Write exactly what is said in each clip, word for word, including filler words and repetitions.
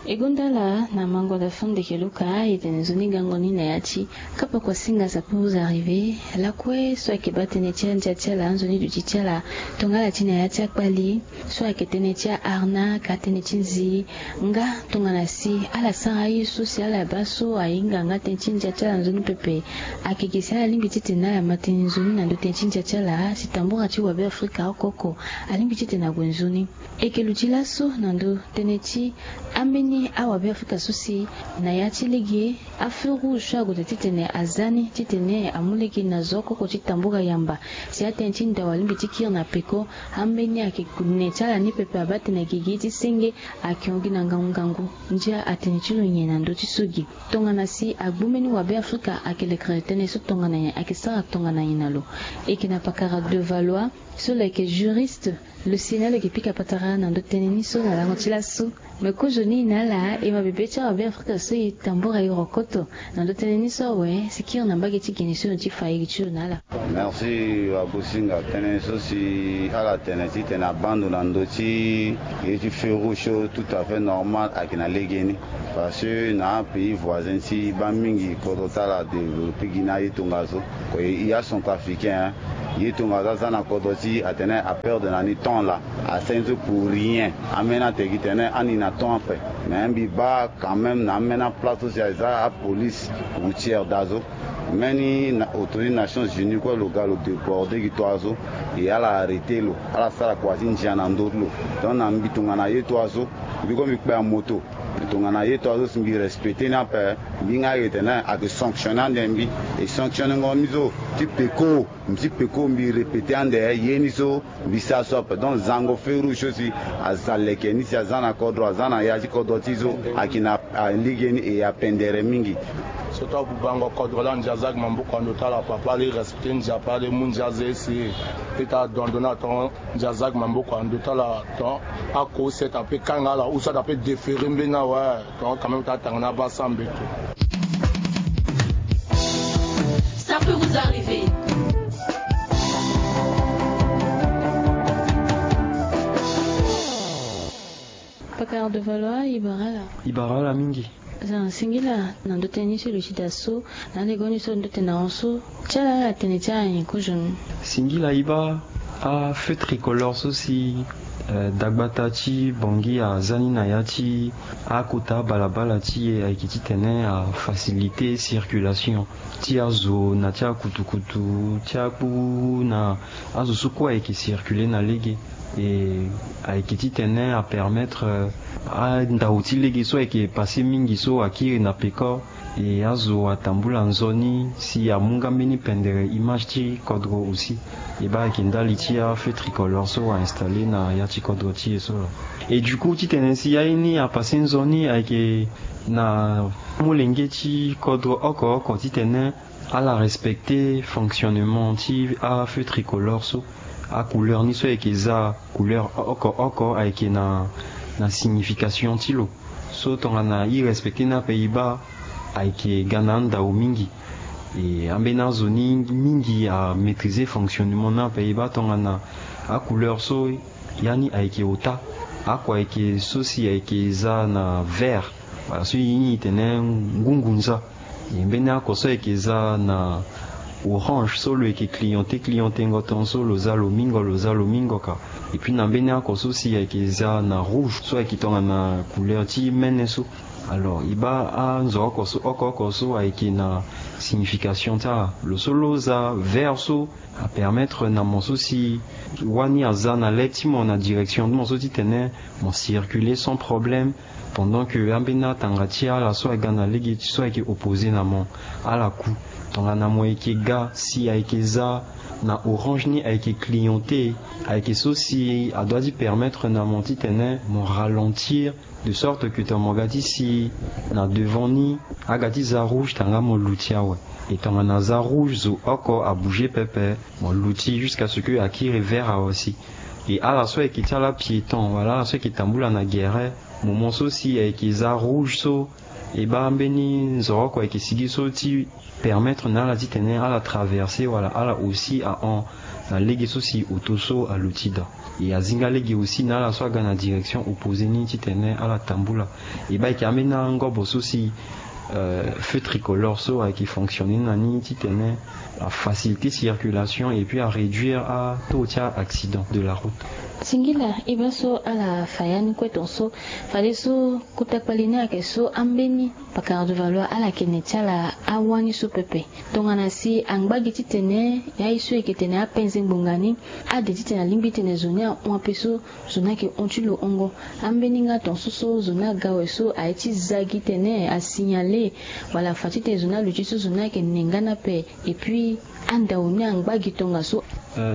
E gonda ala na mango na fo ndeke luka e tene nzoni gango ni na ya ti kapa kua singa sapuru za rive lakue so ayeke baa tënë ti andia ti ala nzoni duti ti ala. Tongana ala ti na ya ti akpali so ayeke tënë ti aarnaque atënë ti nzi. Nga tongana si ala sara aye so si ala baa so ahinga nga tënë ti ndia ti ala nzoni pepe. Ayeke gi si ala lingbi titene ala ma tënë nzoni na ndö tënë ti ndia ti ala si tambura ti wabe afrika oko oko alingbi titene ague nzoni. Eke luti laso na ndö tënë ti ambeni awabe afrika so si na ya ti lege afeu rouge so ague daa titene aza ni titene amu lege na zo oko oko ti tambura yamba si atënë ti ndao alingbi ti kiri na peko. Ambeni ayeke ne ti ala ni pepe abaa tene agigi ti senge ayeke hon gi na ngangu ngangu. Ndia atene ti lo nyen na ndö ti so gi? Tongana si agbu mbeni wabe afrika ayeke lekere tënë so tongana nyen ayeke sara tongana nyen na lo? Eke na pakara de valois so lo yeke juriste. Lo si na lo yeke pika patara na ndö tënë ni so na lango ti laso. Me kozo ni na ala e ma bebe ti awabe afrika so e tambura e rokoto na ndö tënë ni so awe si kiri na mbage ti gene so lo ti fa iri ti lo na ala. Merci. Wabosinga tënë so si ala tene titene abaa ndo na ndö ti ye ti feu rouge so tout à fait normal ayeke na legeni. Parce que na apays voisin ti baa mingi kodro ti ala adéveloppe gi na aye tongaso. Ko e ya centrafricain ye tongaso aza na kodro ti atene aperdre na ni temps laa asara ni so pour rien. Ambeni atene gi tene ani na temps ape. Mais mbi baa quand même na ambeni aplace so si aza apolice routière daa so. Mbeni autorité nations unies kue lo ga lo déborde gi toi so. E ala arrêter lo ala sara kua ti ndia na ndö ti lo. Donc na mbi tongana ye toi so mbi kue mbi kpe amoto. Tongana ye toi so si mbi respecter ni ape. Mbi nga ayeke tene ayeke sanctionner ande mbi. E sanctionner ngo ni so ti peko mbi ti peko mbi répéter ande ye ni so mbi sara so ape. Donc zango feu rouge so si aza leke ni si aza na kodro aza na ya ti kodro ti so ayeke na lege ni e apendere mingi. Surtout abubango kodro laa ndia aza gi maboko na ndo ti ala papa ala e respecter ndia papa ala e mu ndia aza ese. Pe ti adon ndo na ton ndia aza gi maboko na ndo ti ala ton ako seta pe kanga ala ou soit ape déférer mbeni awe. Donc quand même ta tanga na basa mbeto. Ça peut vous arriver. Pakar de valois ibarala. Ibarala mingi. Za singila na ndo tënë ni so lo ti da so na lego ni so ndo tënë na hon so. Ti ala ala tene ti ala nyen kozo ni? Singila iba. Afeu tricolore so si dagbata ti bangi aza ni na ya ti akota balabala ti e ayeke titene afacilité circulation ti azo na ti akutukutu ti akpu na azo so kue ayeke circuler na lege. E ayeke titene apermettre andao ti lege so ayeke passe mingi so akiri na peko. E azo atambula nzoni si amu nga mbeni pendere image ti kodro aussi. E baa ayeke ndali ti afeu tricolore so ainstaller na ya ti kodro ti e so. E du coup titene si ya ye ni apasse nzoni ayeke na molenge ti kodro oko oko titene ala respecter fonctionnement ti afeu tricolore so. Acouleur ni so ayeke za couleur oko oko ayeke na na signification ti lo. So tongana e respecter ni ape e baa ayeke ga na andao mingi. E ambeni azo ni mingi amaîtriser fonctionnement ni ape e baa tongana acouleur so ya ni ayeke ota. Ako ayeke so si ayeke za na vert. Wala so e ni e tene ngungunza. E mbeni ako so ayeke za na orange so lo yeke cliente clientengo ton so lo za lo mingo lo za lo mingo ka. Epui na mbeni ako so si ayeke za na rouge so ayeke tongana couleur ti mene so. Alors e baa anzo oko so oko oko so ayeke na signification ti ala. Lo so lo za vert so apermettre na mo so si wani aza na le ti mo na direction ti mo so titene mo circuler sans problème. Pendant que ambeni atanga ti ala so aga na lege ti so ayeke opposé na mo ala ku. Tongana mo yeke ga si ayeke za na orange ni ayeke cliente ayeke so si adoit ti permettre na mo titene mo ralentir de sorte que tongana mo ga ti si na devant ni aga ti za rouge tanga mo luti awe. E tongana za rouge zo oko abouger pepe mo luti jusqu'à ce que akiri vert awe si. E ala so ayeke ti ala piéton wala ala so ayeke tambula na gere moment so si ayeke za rouge so e baa mbeni nzoro oko ayeke sigi so ti permettre na ala titene ala traverser wala ala aussi ahon na lege so si oto so aluti daa. E azinga lege aussi na ala so aga na direction opposé ni titene ala tambula. E baa ayeke ambeni angobo so si feu tricolore so ayeke fonctionner na ni titene afaciliter circulation et puis aréduire ataux ti a accident de la route. Singila e baa so ala fa ya ni kue tonso. Fadeso kota kpali ni ayeke so ambeni pakara de valoir ala yeke ne ti ala awani so pepe. Tongana si angba gi titene ya ye so e yeke tene apenze ngbonga ni ade titene alingbi titene zo ni ahon ape so zo ni ayeke hon ti lo hongo. Ambeni nga tonso so zo ni aga awe so aye ti za gi tene asignale wala afa titene zo ni aluti so zo ni ayeke ne nga ni ape. Et puis andao ni angba gi tongaso.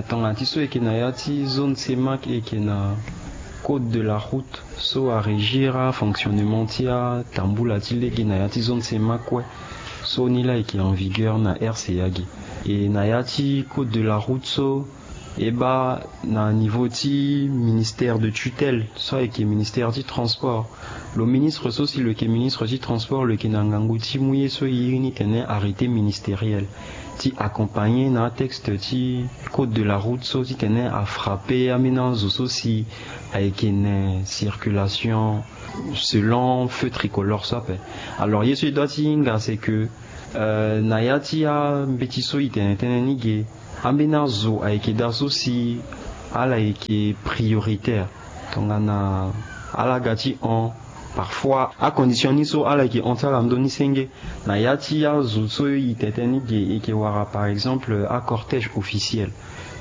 Tongana ti so e yeke na ya ti zone CEMAC e yeke na code de la route so arégir afonctionnement ti atambula ti lege na ya ti zone CEMAC kue. So ni laa e yeke en vigueur na RCA gi. E na ya ti code de la route so e baa na niveau ti ministère de tutelle so ayeke ministère ti transport. Lo ministre so si lo yeke ministre ti transport lo yeke na ngangu ti mu ye so e iri ni tene arrêté ministériel ti accompagner na atexte ti code de la route so titene afrappe ambeni azo so si ayeke ne circulation selon feu tricolore so ape. Alors ye so e doit ti hinga c'est que na ya ti ambeti so e tene tënë ni ge, ambeni azo ayeke daa so si ala yeke prioritaire. Tongana ala ga ti hon, parfois acondition ni so ala yeke hon ti ala ndö ni senge. Na ya ti azo so e tene tënë ni ge e yeke wara par exemple acortège officiel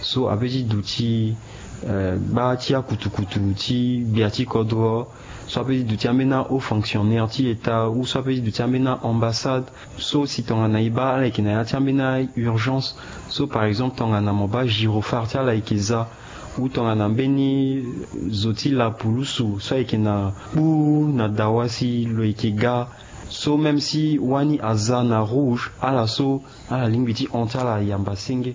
so apeut ti duti gba ti akutukutu ti gbia ti kodro, so apeut ti duti ambeni ahaut fonctionnaire ti état ou so apeut ti duti ambeni aambassade. So si tongana e baa ala yeke na ya ti ambeni aurgence, so par exemple tongana mo baa gyrophare ti ala yeke za, ou tongana mbeni zo ti lapulusu so ayeke na kpu na dawa si lo yeke ga, so même si wani aza na rouge, ala so ala lingbi ti hon ti ala yamba senge.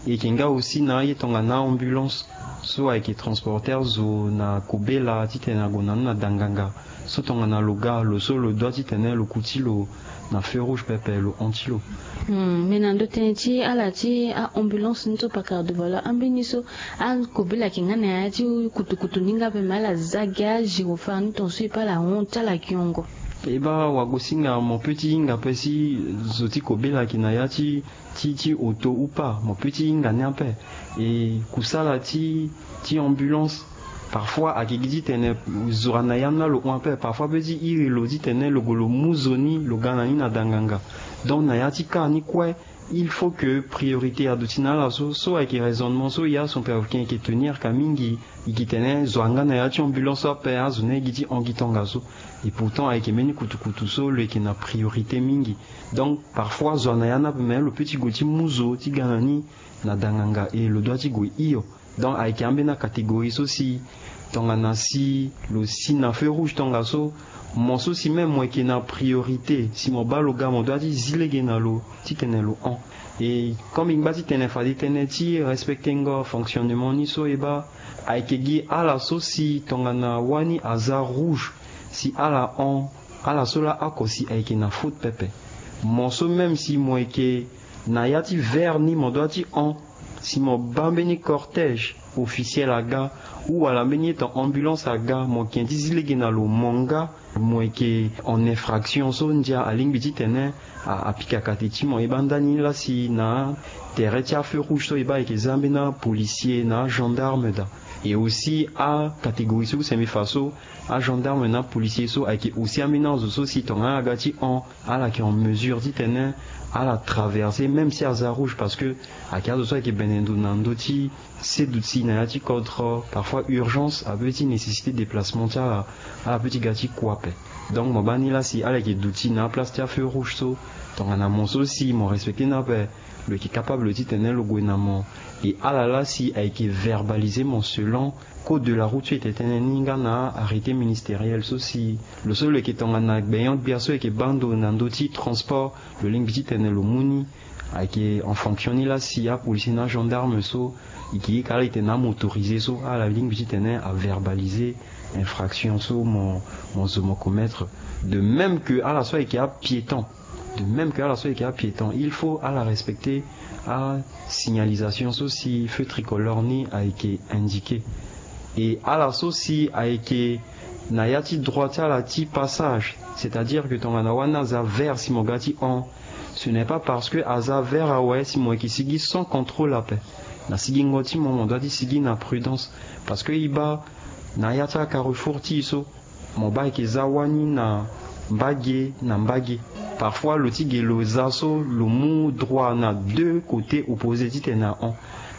E yeke nga aussi na aye tongana ambulance so ayeke transporter zo na kobela titene ague na ni na danganga. So tongana lo ga lo so lo doit titene lo kuti lo na feu rouge pepe lo hon ti lo. Hmm, mais na ndo tënë ti ala ti aambulance ni so pakara de valoir ambeni so akobela ayeke nga na ya ti kutukutu ni nga ape, mais ala za gi agyrophare ni tonso e pe ala hon ti ala yongo. E baa wagosinga mo peut ti hinga ape si zo ti kobela ayeke na ya ti ti ti oto ou pas, mo peut ti hinga ni ape. E kusala ti ti ambulance parfois ayeke gi titene zo ana ya ni laa lo hon ape, parfois peut ti iri lo titene lo gue lo mu zo ni lo ga na ni na danganga. Donc na ya ti cas ni kue il faut que priorité aduti na ala so, so ayeke raisonnement so ya son père africain ayeke tenir ka mingi. E yeke tene zo anga na ya ti ambulance so ape azo ni aye gi ti hon gi tongaso. Et pourtant ayeke mbeni kutukutu so lo yeke na priorité mingi. Donc parfois zo ana ya ni ape mais lo peut ti gue ti mu zo ti ga na ni na danganga et lo doit ti gue hio. Donc ayeke ambeni acatégorie so si tongana si lo si na feu rouge tongaso, mo so si même mo yeke na priorité si mo baa lo ga mo doit ti zi lege na lo titene lo hon. Et comme e ngba titene fade tënë ti respecter ngo fonctionnement ni so e baa ayeke gi ala so si tongana wani aza rouge si ala hon, ala so laa oko si ayeke na faute pepe. Mo so même si mo yeke na ya ti vert ni mo doit ti hon. Si mo baa mbeni cortège officiel aga ou wala mbeni etan ambulance aga, mo yeke ti zi lege na lo mo nga mo yeke en infraction so ndia alingbi titene apika kate ti mo. E baa ndani laa si na tere ti afeu rouge so e baa ayeke za ambeni apolicier na agendarme daa. Et aussi acatégorie so use mbi fa so agendarme na apolicier so ayeke aussi ambeni azo so si tongana ala ga ti hon, ala yeke en mesure titene ala traverser même si aza rouge parce que ayeke azo so ayeke bene ndo na ndö ti seduti na ya ti kodro. Parfois urgence apeut ti nécessiter déplacement ti ala, ala peut ti ga ti kua ape. Donc mo baa ni laa si ala yeke duti na aplace ti afeu rouge so, tongana mo so si mo respecter ni ape, lo yeke capable titene lo gue na mo. Et ala laa si ayeke verbaliser mo selon code de la route so e tene tënë ni nga na arrêté ministériel so si lo so lo yeke tongana gbenyo-gbia so e yeke baa ndo na ndö ti transport, lo lingbi titene lo mu ni. Ayeke en fonction ni laa si apolicier na agendarme so e yeke ye ka ala titene amotorisé so ala lingbi titene averbalise infraction so mo, mo zo mo commettre. De même que ala so ayeke apiéton, De même que ala so ayeke apiéton, il faut ala respecter asignalisation so si feu tricolore ni ayeke indiqué. E ala so si ayeke na ya ti droit ti ala ti passage, c'est-à-dire que tongana wani aza vert si mo ga ti hon, ce n'est pas parce que aza vert awe si mo yeke sigi sans contrôle ape. Na sigingo ti mo, mo doit ti sigi na prudence, parce que e baa na ya ti acarrefour ti e so, mo baa ayeke za wani na mbage na mbage. Parfois lo ti ge lo za so lo mu droit na deux côtés opposés titene ahon,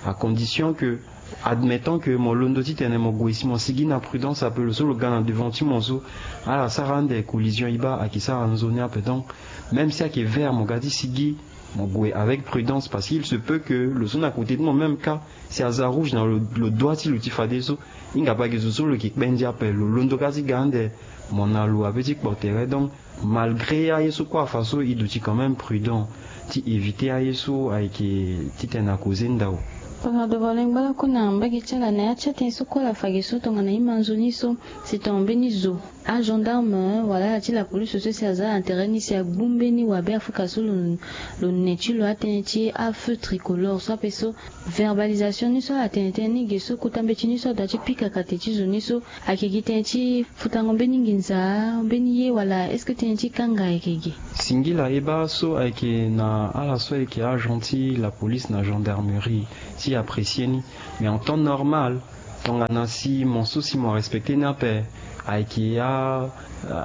à condition que, admettant que mo londo titene mo gue si mo sigi na prudence ape, lo so lo ga na devant ti mo so ala sara ande collision, e baa ayeke sara nzoni ape. Donc même si ayeke vert, mo ga ti sigi mo gue avec prudence, parce qu'il se peut que lo so na côté ti mo même cas, si aza rouge na lo, lo doit ti lo ti fadeso, hinga pe ayeke zo so lo yeke kpe ndia ape, lo londo kâ ti ga ande mo na lo ape ti kpo tere. Donc malgré aye so kue afa so, e duti quand même prudent ti éviter aye so ayeke titene akoze ndao. Tongana devant lengba lakue na mbage ti ala na ya ti atënë so kue ala fa ge so tongana e ma nzoni so, si tongana mbeni zo agendarme wala ala ti la police so si aza na tere ni si agbu mbeni wabe afrika so lo, lo ne ti lo atënë ti afeu tricolore so ape so, verbalisation ni so ala tene tënë ni ge so, kota mbeti ni so adoit ti pika kate ti zo ni so, ayeke gi tënë ti futango mbeni nginza, mbeni ye, wala est-ce que tënë ti kanga ayeke gi? Singila e baa so ayeke na ala so ayeke agent ti la police na gendarmerie ti apprécier ni. Mais en temps normal, tongana si mo so si mo respecter ni ape, ayeke a,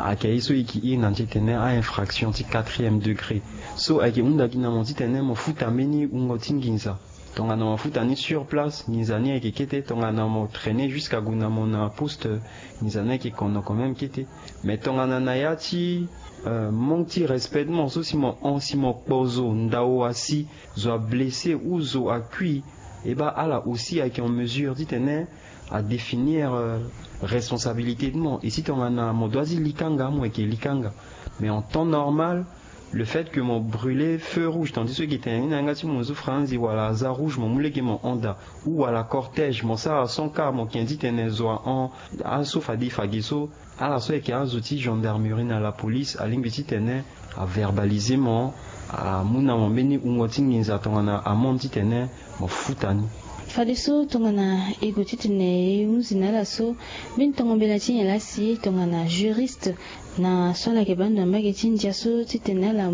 ayeke aye so e yeke iri na ni titene a-infraction ti quatrième degré. So ayeke hunda gi na mo titene mo futa mbeni wungo ti nginza. Tongana mo futa ni sur place, nginza ni ayeke kete. Tongana mo traîner jusqu'à gue na mo na poste, nginza ni ayeke kono quand même kete. Mais tongana na ya ti, euh, manque ti respect ti mo so si mo hon, si mo kpo zo ndao asi, zo ablessé ou zo akui, e baa ala aussi ayeke en mesure titene adéfinir, euh, responsabilité ti mo. E si tongana mo doit ti li kanga, mo yeke li kanga. Mais en temps normal, le fait que mo brûler feu rouge, tandis so e yeke tene ni na yanga ti mo zo franzi, wala aza rouge, mo mu lege mo hon daa, ou wala cortège, mo sara sans car, mo ken titene zo ahon. Aso fade e fa ge so, ala so ayeke azo ti gendarmerie na la police alingbi titene averbalise mo, amu na mo mbeni wungo ti nginza tongana amon titene mo futa ni. Fadeso tongana e gue titene e hunzi na ala so, mbeni tongo mbela ti nyen laa si tongana juriste na so ala yeke baa ndo na mbage ti ndia so titene ala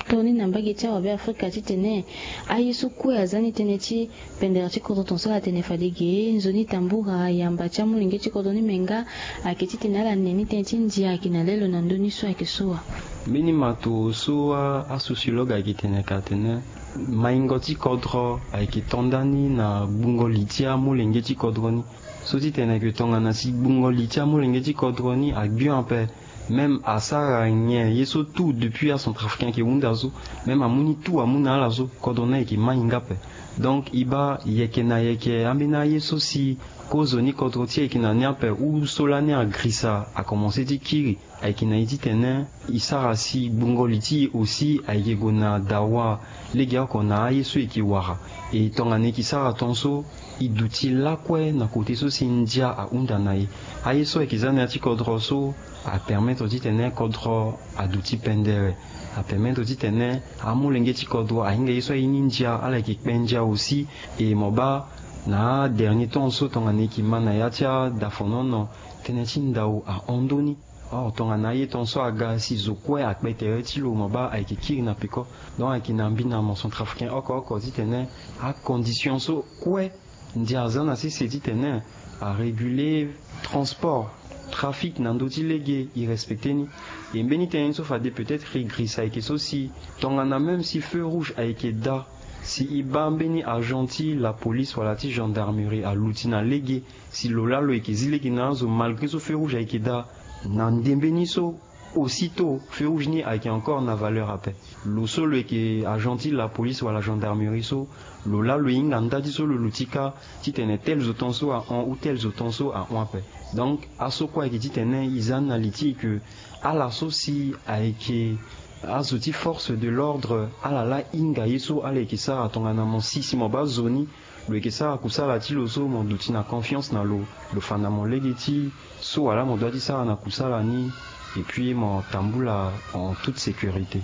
to ni na mbage ti awabe afrika titene aye so kue aza ni tënë ti pendere ti kodro, tongaso ala tene fade ge nzoni tambura yamba ti amolenge ti kodro ni, me nga ayeke titene ala ne ni tënë ti ndia ayeke na lelo na ndö ni so ayeke so wa. Mbeni mato so a, asociologue ayeke tene ka atene maingo ti kodro ayeke to ndani na gbungo li ti amolenge ti kodro ni. So titene ke tongana si gbungo li ti amolenge ti kodro ni agbio ape, même asara nyen ye so tout depuis acentrafricain ayeke hunda so, même amu ni tout amu na ala so, kodro ni ayeke mai nga ape. Donc e baa yeke na yeke ambeni aye so si kozoni kodro ti e ayeke na ni ape, ou so lani agrisa akomanse ti kiri, ayeke na e titene e sara si gbungo li ti e aussi ayeke gue na dawa legeoko na aye so e yeke wara. E tongana e yeke sara tongaso, e duti lakue na kote so si ndia ahunda na e. Aye so ayeke za na ya ti kodro so apermettre titene kodro aduti pendere, apermettre titene amolenge ti kodro ahinga ye so aye ni ndia, ala yeke kpe ndia aussi. E mo baa na adernier temps so tongana e yeke ma na ya ti adafonono, tënë ti ndao ahon ndö ni. Or tongana aye tongaso aga si zo kue akpe tere ti lo, mo baa ayeke kiri na peko. Donc ayeke na mbi na mo centrafricain oko oko titene acondition so kue ndia aza na sese titene aréguler transport, trafic na ndö ti lege, e respecter ni. E mbeni tënë ni so fade peut-être e girisa ayeke so si tongana même si feu rouge ayeke daa, si e baa mbeni agent ti la police wala ti gendarmerie aluti na lege, si lo laa lo yeke zi lege na azo malgré so feu rouge ayeke daa, na ndembe ni so, aussitôt feu rouge ni ayeke encore na valeur ape. Lo so lo yeke agent ti la police wala gendarmerie so, lo laa lo hinga nda ti so lo luti kâ titene tel zo tongaso ahon ou tel zo tongaso ahon ape. Donc aso kue ayeke titene e za ni na li ti e ke ala so si ayeke azo ti force de l'ordre, ala laa hinga ye so ala yeke sara. Tongana mo si si mo baa zo ni lo yeke sara kusala ti lo so, mo duti na confiance na lo, lo fa na mo lege ti so wala mo doit ti sara na kusala ni, et puis mo tambula en toute sécurité.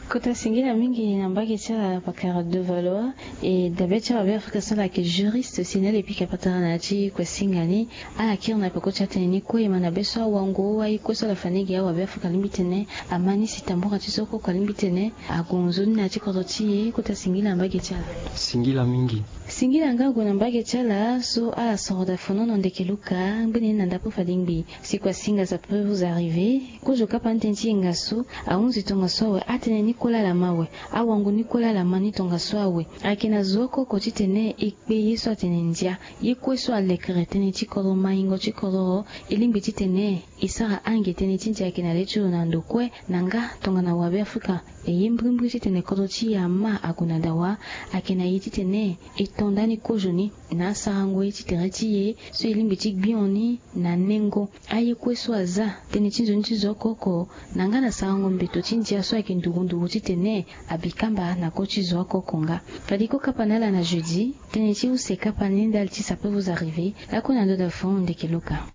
Kota singila mingi na mbage ti ala pakara de Valois. E dabe ti awabe afrika so ala yeke juriste si na ala epika patara na ya ti kue singa ni. Ala kiri na peko ti atene ni kue e ma na be so awango aye kue so ala fa ni gi awabe afrika alingbi tene ama ni si tambura ti so koko alingbi tene agonzo ni na ya ti kodro ti e. Kota singila na mbage ti ala. Singila mingi. Singila nga ague na mbage ti ala so ala soro da fonono ndeke luka ngbene ni na ndapo fade ngbi. Si kua singa ça peut vous arriver. Kozo kapa ni tënë ti yenga so ahunzi tongaso awe atene ni kue laa ala ma awe. Awango ni kue laa ala ma ni tongaso awe. Ayeke na zo oko oko titene e kpe ye so atene ndia ye kue so alekere tënë ti kodro maingo ti kodro. E lingbi titene e sara ange tënë ti ndia ayeke na le ti lo na ndo kue na nga tongana wabe afrika. E ye mbrimbri titene kodro ti e ama ague na dawa. Ayeke na ye titene e to ndani kozo ni na asarango ye ti tere ti e so e lingbi ti gbio ni na nengo. Aye kue so aza tënë ti nzoni ti zo oko oko na nga na sarango mbeto ti ndia so ayeke nduru nduru titene abi kamba na ko ti zo oko oko nga. Fade ko kapa na ala na jeudi. Tënë ti use kapa ni ndali ti ça peut vous arriver. Lakue na ndo da fon ndeke luka.